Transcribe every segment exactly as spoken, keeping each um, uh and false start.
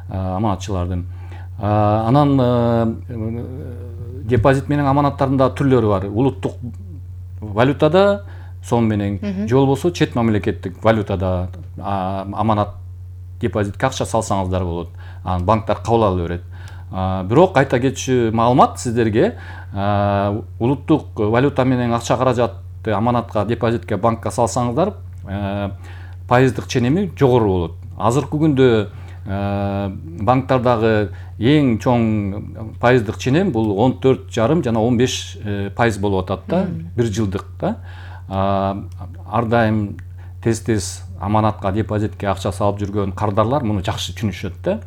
аманатчылардын. Анан депозит менен аманаттардын да түрлөрү бар. Улуттук валютада сом менен же болбосо чет мамлекеттик валютада аманат депозитке акча салсаңыздар болот. Анан банктар кабыл ала берет. Бирок айта кетчү маалымат сиздерге, улуттук валюта менен акча каражатты аманатка, депозитке, банкка салсаңыздар, пайыздык ченеми жогору болот. Азыркы күндө банктардагы эң чоң пайыздык ченем бул он төрт жарым жана он беш пайыз болуп атат да, бир жылдык да. Ар дайым тез-тез аманатка, депозитке акча салып жүргөн кардарлар муну жакшы түшүнүшөт да.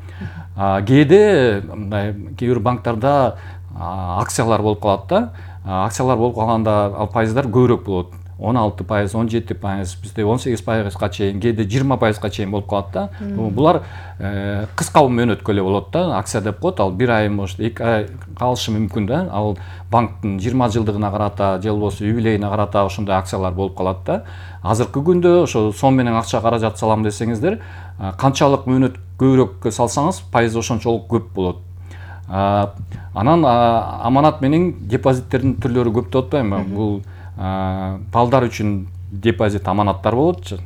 Кээде мындай кээ бир банктарда акциялар болуп калат да. Акциялар болуп калганда ал пайыздар көбүрөөк болот. он алты пайыз, он жети пайыз, бизде он сегиз пайызга чейин, кээде жыйырма пайызга чейин болуп калат да. Булар кыска мөөнөткө эле болот да. Акция деп коет, ал бир ай, может, эки ай калышы мүмкүн да. Ал банктын жыйырма жылдыгына карата, же болбосо юбилейине карата ошондой акциялар болуп калат да. Азыркы күндө ошо сом менен акча каражат салам десеңиздер, канчалык мөөнөт көбүрөөк салсаңыз, пайыз ошончолук көп болот. Анан аманат менен депозиттердин түрлөрү көп деп атпаймынбы? Бул балдар үчүн депозит аманаттар болот.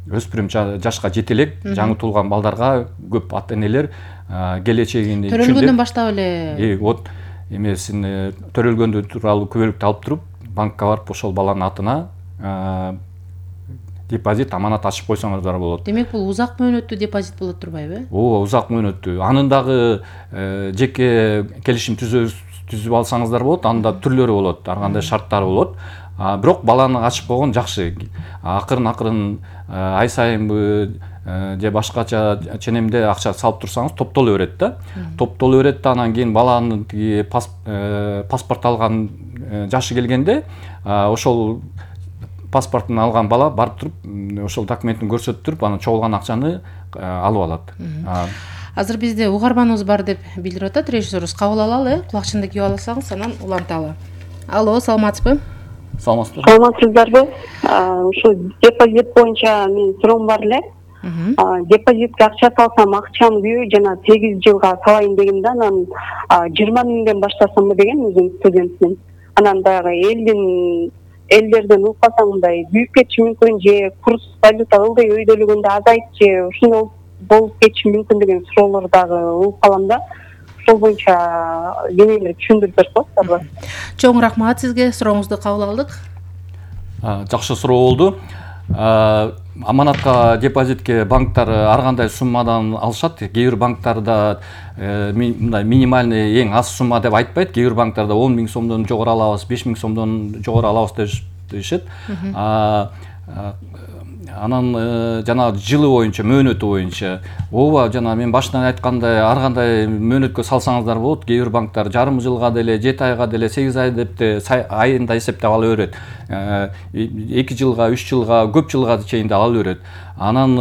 Өспүрүм жашка жете элек жаңы туулган балдарга көп ата-энелер келечегин төрөлгөндөн баштап эле вот эмесин төрөлгөндө тууралуу күбөлүктү алып туруп, банкка барып ошол баланын атына депозит, аманат ачып койсоңуздар болот. Демек бул узак мөөнөттүү депозит болот турбайбы? Ооба, узак мөөнөттүү. Анын дагы жеке келишим түзүп алсаңыздар болот, анда түрлөрү болот, ар кандай шарттары болот. Бирок баланы ачып койгон жакшы. Акырын-акырын ай сайынбы же башкача ченемде акча салып турсаңыз топтоло берет да. Топтоло берет да, анан кийин баланын тиги паспорт алган жашы келгенде ошол паспортун алган бала барып туруп, ошол документин көрсөтүп туруп, анан чогулган акчаны алып алат. Азыр бизде угарманыбыз бар деп билдирип атат режиссерубуз. Кабыл алалы, кулакчынды кийип алсаңыз, анан уланталы. Алло, саламатсызбы? Саламатсызбы? Саламатсыздарбы? Ушу депозит боюнча менин суроом бар эле. Депозитке акча салсам, акчам көп, жана сегиз жылга салайын дегем да, анан жыйырма миңден баштасамбы деген, өзүм студентмин. Анан дагы элдин элдерден укпасаң мындай күйүп кетиши мүмкүн, же курс валюта ылдый өйдөлгөндө азайып, же ушундай болуп кетиши мүмкүн деген суроолор дагы угуп калам да. Ошол боюнча кененирээк түшүндүрүп берсеңиздарбы? Чоң рахмат сизге, сурооңузду кабыл алдык. Жакшы суроо болду. Аманатка, депозитке банктар ар кандай суммадан алышат. Кээ бир банктарда мындай минимальный эң аз сумма деп айтпайт. Кээ бир банктарда он миң сомдон жогору алабыз, беш миң сомдон жогору алабыз дешет. Анан жана жылы боюнча, мөөнөтү боюнча, ооба, жана мен башынан айткандай, ар кандай мөөнөткө салсаңыздар болот. Кээ бир банктар жарым жылга деле, жети айга деле, сегиз ай деп де айында эсептеп ала берет. эки жылга, үч жылга, көп жылга чейин да ала берет. Анан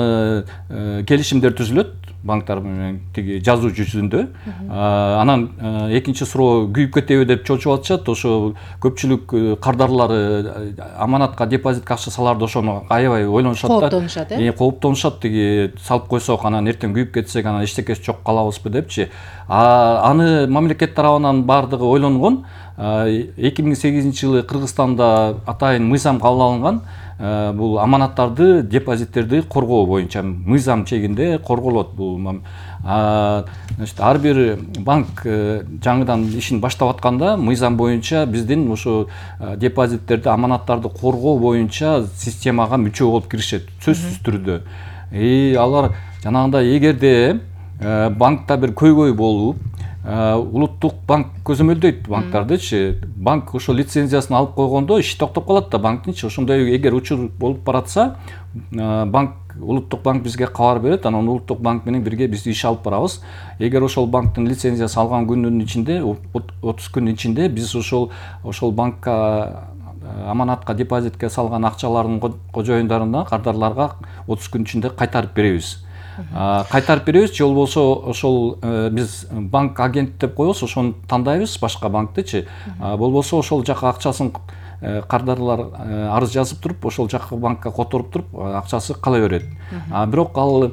келишимдер түзүлөт банктар менен тиги жазуу жүзүндө. Анан экинчи суроо күйүп кетеби деп чочуп атышат. Ошо көпчүлүк кардарлары аманатка, депозитке акча саларды ошону аябай ойлонушат да. Кооптонушат, э? Кооптонушат, тиги салып койсок, анан эртең күйүп кетсек, анан эчтекеси жок калабызбы депчи. Аны мамлекет тарабынан бардыгы ойлонгон. эки миң сегизинчи жылы Кыргызстанда атайын мыйзам кабыл алынган. Бул аманаттарды, депозиттерди коргоо боюнча мыйзам чегинде корголот бул. Значит, ар бир банк жаңыдан ишин баштап атканда мыйзам боюнча биздин ошо депозиттерди, аманаттарды коргоо боюнча системага мүчө болуп киришет, сөзсүз түрдө. И алар жанагындай эгерде банкта бир көйгөй болуп, улуттук банк көзөмөлдөйт банктардычы. Банк ошо лицензиясын алып койгондо иш токтоп калат да банктынчы. Ошондой эгер учур болуп баратса, банк, улуттук банк бизге кабар берет, анан улуттук банк менен бирге биз иш алып барабыз. Эгер ошол банктын лицензиясы алган күндүн ичинде, отуз күндүн ичинде биз ошол ошол банкка, аманатка, депозитке салган акчалардын кожоюндарына, кардарларга отуз күн ичинде кайтарып беребиз. Кайтарып беребиз, же болбосо ошол биз банк агент деп коебуз, ошону тандайбыз, башка банктычы. Болбосо ошол жака акчасын кардарлар арыз жазып туруп, ошол жакка банкка которуп туруп, акчасы кала берет. Бирок ал